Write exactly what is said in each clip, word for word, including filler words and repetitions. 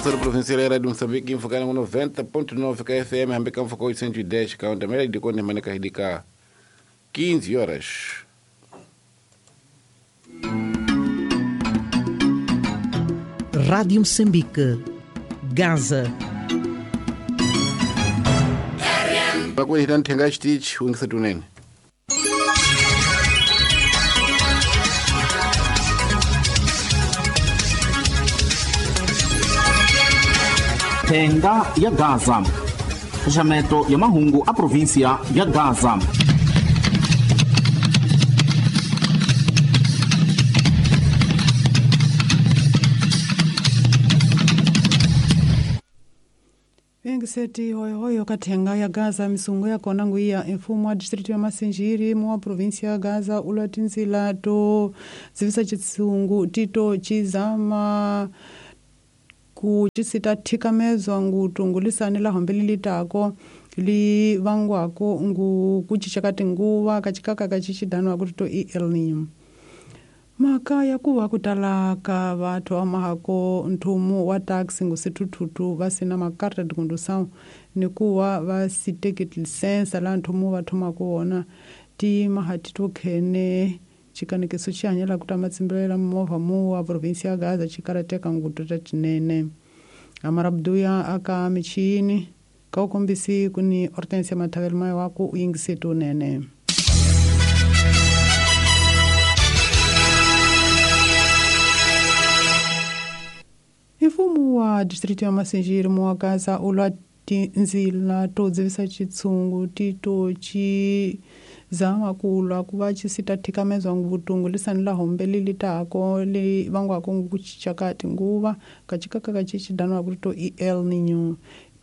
Emissora provincial era de Moçambique, enfocando noventa ponto nove K F M, hambe ka mfoko oitocentos e dez, ka onda mela de konde maneka hidika quinze horas. Rádio Moçambique, Gaza. Bakweli tanthenga chitichi ungisetunene. Thenga ya Gaza. Xaxameto ya mahungu a província ya Gaza. Seti hoyo ka thenga ya Gaza misungo ya kona nguya mfumo wa distrito ya Masinjiri mu wa província ya Gaza ulwa tinzila to dzivisa chitsungu tito chizama ku chisita thikamezwa ngutungulisani la hombe lilitako li vangwako ngu kuchicha tinguva kachikaka kachichidanwa kuti to El Niño. Mhaka ya kuva ku tala ka vathu amahako nthumu wa taxi ngusithuthutu va sina makarta tikundusawu ni kuva va si teki lisensa laha nthumu va thomaka wona ti mahati to khene xikanekiso xi hanyela ku ta matsimbilela movha mu wa provinsi ya Gaza xi karateka ngutu ta tinene. Amarabduya aka michini ka u kombisi ku ni Hortensia Mathavelo mayo wa ku u yingise tunene. Mfumo wa distrito ya Masinjiri mu wa Gaza ulwa tinzila to dzivisa chitsungu tito chi zama kulwa ku va chisita thikamezwa nguvutungu lisani la hombe lilitako li vangwako ngukuchicha ka tinguva kachikaka kachichidanwa kuti to El Niño.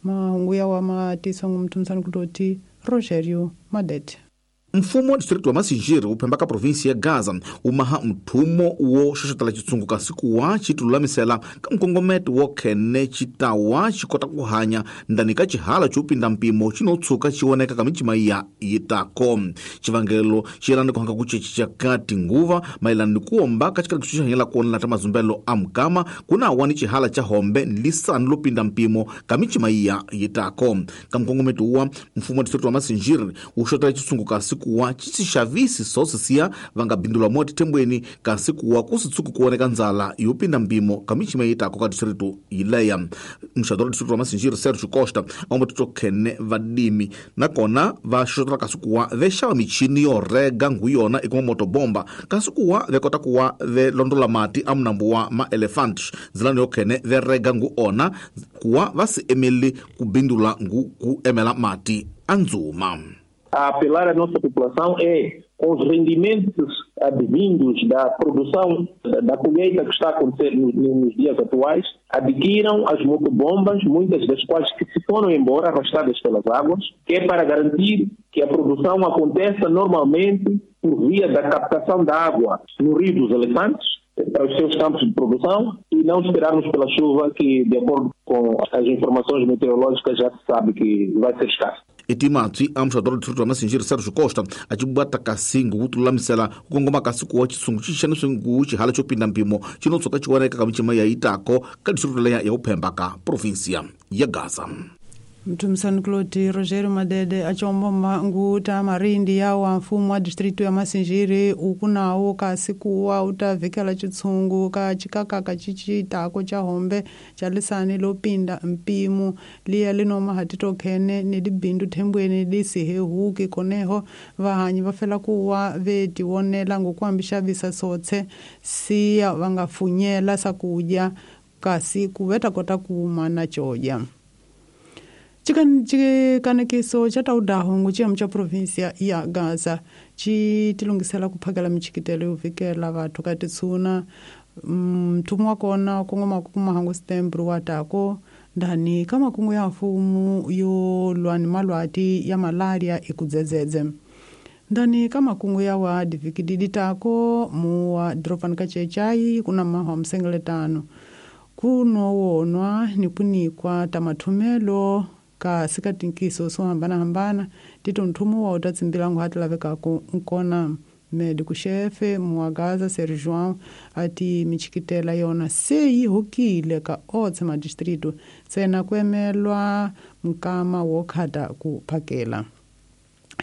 Mahungu ya wa matisa ngumthumsani kutoti Rogerio Madete. Mfumo wa distrito wa Masinjiri wu phemba ka provinsi ya Gaza wu maha mthumo wo xoxotela chitsungu kasi kuwa xi tilulamisela ka nkongometo wo khene xitawa xi kota ku hanya ndani ka xihala xo pinda mpimo xi no tshuka xi voneka ka micima ya yitako. Xivangelo xi yelana ni ku hanga ku cinca ka tinguva mayelana ni ku omba ka xikarhi xi hanyela kona ta mazumbelo a mukama ku na wa ni xihala xa hombe ni lisani lo pinda mpimo ka micima ya yitako. Ka nkongometo wa mfumo wa distrito wa Masinjiri wu xotela chitsungu kasi kuwa xixavisi sosisiya va nga bindulwa mo tithembweni kasi kuwa ku si tshuki ku voneka ndzala yo pinda mpimo ka micima yitako ka distrito yileya. Muxadoro wa distrito wa Masinjiri Sergio Costa a va tito khene vadimi nakona va xotela kasi kuwa ve xava michini yo rega ngu yona i kuma motobomba kasi kuwa ve kota kuwa ve londola mati a munambu wa ma-elephant ndzilani yo khene ve rega ngu ona kuwa va si emeli ku bindula ngu ku emela mati a ndzuma. A apelar à nossa população é, com os rendimentos advindos da produção, da colheita que está a acontecer nos, nos dias atuais, adquiram as motobombas, muitas das quais que se foram embora arrastadas pelas águas, que é para garantir que a produção aconteça normalmente por via da captação da água no Rio dos Elefantes, para os seus campos de produção, e não esperarmos pela chuva que, de acordo com as informações meteorológicas, já se sabe que vai ser escassa. Etimatsi a muxadoro wa distrito wa Masinjiri Sergio Costa a ci bata kasi ngu tululamisela ku kongoma kasi kuwa chisungu xi xaniso ngu xihala xo pinda mpimo xi no tshuka xi voneka ka micima ya yitako ka distrito leya ya uphemba ka provinsia ya Gaza. Mtumsani Kloti Rogerio Madede achomboma nguta marindi ya wa mfumo wa distrito ya Masinjiri ukunawo kasi kuwa utavhikela chitsungu ka chikakaka chichitako cha hombe cha lisani lopinda mpimo liya linoma hatito khene ni dibindu thembweni lisihehuki koneho vahanyi va fela kuwa vetiwonela ngokuhambishavisa sotse siya vangafunyela sakudya kasi kuveta kota kuma na choja. Chikanekiso cha taudaho chiyamu cha provinsia ya Gaza chi tilungisela ku phakela michikitelo yo vikela vathu ka titsuna mthumu wa kona kongoma ku mahangu setembro wa tako ndani ka makungu ya mfumo yo lwa ni malwati ya malaria ikudzedzedze ndani ka makungu ya wa divikididi tako muwa dropani ka chechai kuna mahwa msengeletano kunowonwa ni kunikwa tamathumelo ka sikatinkiso swo hambanahambana tito nthumu wa u ta tsimbilangu ha ti lavekaku nkona Médico-chefe Muagaza Ser João ati michikitela yona se yi hukile ka otse madistrito tsena kuemelwa mukama wo khata ku phakela.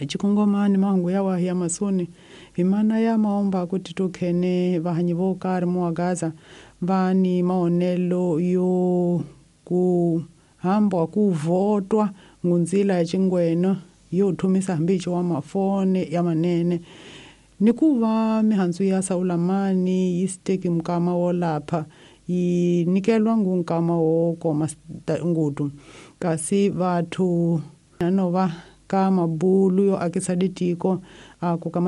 Chikongomani mahungu ya wahi ya masoni himana ya maomba kuti tukhene vahanyi vo karhi Muagaza va ni maonelo yo ku hamba ku votwa ngunzila ya chingweno yo thumisa hambichi wa mafone ya manene ni ku va mihandzu ya saulamani yi siteki mukama wo lapha yi nikelwa ngu nkama wo koma ngudu kasi vathu no va ka mabulu yo akisa ditiko a ku ka